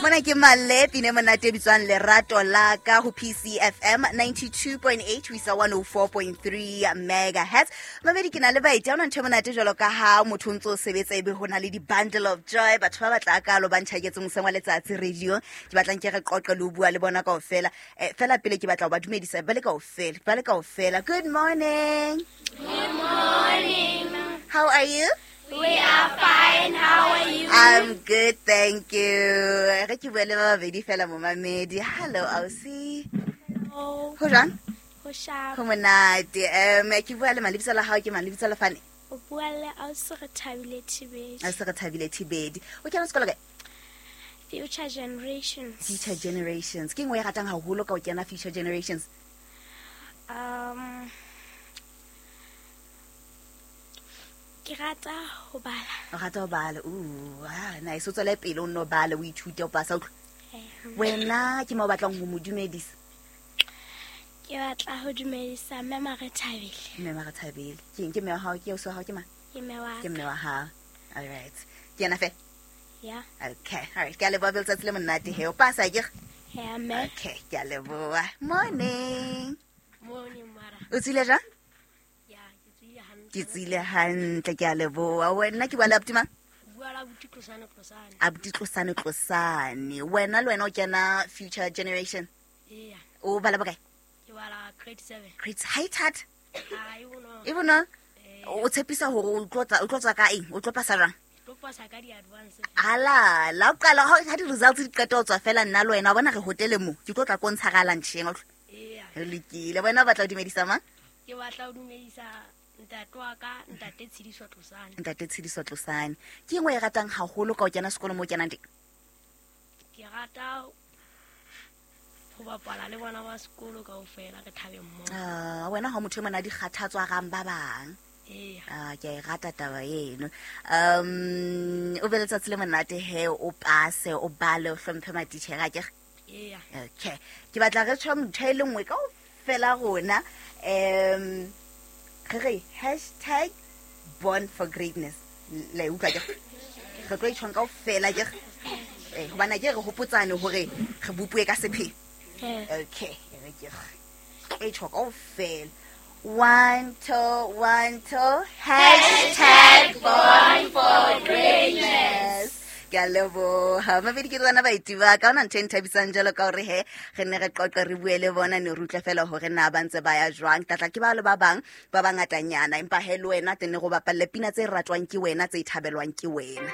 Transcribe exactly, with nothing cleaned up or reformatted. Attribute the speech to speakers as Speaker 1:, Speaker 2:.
Speaker 1: Mona ke Male pine monate e bitswang Lerato la ka ho P C F M ninety-two point eight ho isa one oh four point three megahertz. Mamedi ke na le baeti, ha hona ntho e monate jwalo ka ha motho o ntso sebetsa ebe ho na le di-bundle of joy, batho ba batla kalo ba ntjhaketse moseng wa letsatsi radio. Ke batlang ke re qoqe le ho bua le bona kaofela. Eh, fela pele ke batla ho ba dumedisa ba le kaofela, ba le kaofela. Good morning.
Speaker 2: Good morning.
Speaker 1: How are you?
Speaker 2: We are fine. How are you?
Speaker 1: I'm good, thank you. Re ke bua le ba babedi fela momamedi. Hello, ausi.
Speaker 2: Hello.
Speaker 1: Ho jwang?
Speaker 2: Ho sharp.
Speaker 1: Ho monate. Um, ke bua le mang? Lebitso la hao ke mang? Lebitso la fane?
Speaker 2: O bua le ausi re Thabile Thibedi.
Speaker 1: Ausi re Thabile Thibedi. O kena sekolo kae?
Speaker 2: Future Generations.
Speaker 1: Future Generations. Ke nngwe e ratang haholo ka ho kena Future Generations?
Speaker 2: Um, ke rata ho bala.
Speaker 1: O rata ho bala. Ooh, ah, nice. O tswele pele o nno bale, o ithute, o pasa, utlwe. Wena ke mo batlang ho mo dumedisa?
Speaker 2: Ke batla ho dumedisa mme Mare Thabile.
Speaker 1: Mme Mare Thabile. Ke eng? Ke mme wa hao? Ke ausi wa hao? Ke mang?
Speaker 2: Ke mme wa
Speaker 1: Ke mme wa hao. All right. Ke yena feela?
Speaker 2: Yeah.
Speaker 1: Okay. All right. Ke a leboha, letsatsi le monate he. O pasa ke?
Speaker 2: Yeah, mme.
Speaker 1: Okay, ke a leboha. Morning.
Speaker 3: Morning, mara.
Speaker 1: O tswile jwang? Ke tsile hantle, ke a leboha. Wena ke bua le abuti mang?
Speaker 3: Bua le abuti Tlosane Tlosane.
Speaker 1: Abuti Tlosane Tlosane. Wena le wena o kena Future Generation?
Speaker 3: Yeah.
Speaker 1: O bala bokae?
Speaker 3: Ke bala grade seven.
Speaker 1: Grade high that?
Speaker 3: Ha, e bonolo.
Speaker 1: E bonolo?
Speaker 3: Eh.
Speaker 1: O tshepisa hore o tlo tla, o tlo tswa ka eng? O tlo pasa jwang?
Speaker 3: Tlo pasa ka di-advance.
Speaker 1: Ala, la o qala ha di results di qeta ho tswa fela nna le wena, wa bona re hotele mo. Ke tlo tla ko ntsha ga lunch-eng, o utlwa?
Speaker 3: Yeah.
Speaker 1: Re lokile. Wena o batla ho dumedisa mang?
Speaker 3: Ke batla ho dumedisa ntate wa ka, ntate Tshidiso Tlosane.
Speaker 1: Ntate Tshidiso Tlosane. Ke eng o e ratang haholo ka ho kena sekolo mo o kenang teng?
Speaker 3: Ke rata ho bapala le bona ba sekolo kaofela, re thabe mmoho.
Speaker 1: Ah, wena ha motho e mona di kgathatswa rang ba bang.
Speaker 3: Eya.
Speaker 1: Ah, ke a e rata taba eno. Um, o be letsatsi le monate he, o pase, o bale, o hlomphe matitjhere, akere?
Speaker 3: Eya.
Speaker 1: Okay. Ke batla re tjho ntho e le nngwe kaofela rona. Um, re re hashtag born for greatness. Le utlwa ke? Re tlo itjhong kaofela ke? Eh, hobane ke re hopotsane hore re bopuwe ka sepheo. Okay, re ke re itjho kaofela. One, two, one, two. Hashtag born for greatness. Ke a leboha. Mabedi ke rona baeti ba ka, hona ntho e nthabisang jwalo ka hore he, re ne re qoqe re bue le bona, ne re utlwe fela hore na ba ntse ba ya jwang. Tlatla ke ba le ba bang ba bangatanyana, empa he le wena teng ne go bapalle pina tse ratwang ke wena, tse thabelwang ke wena.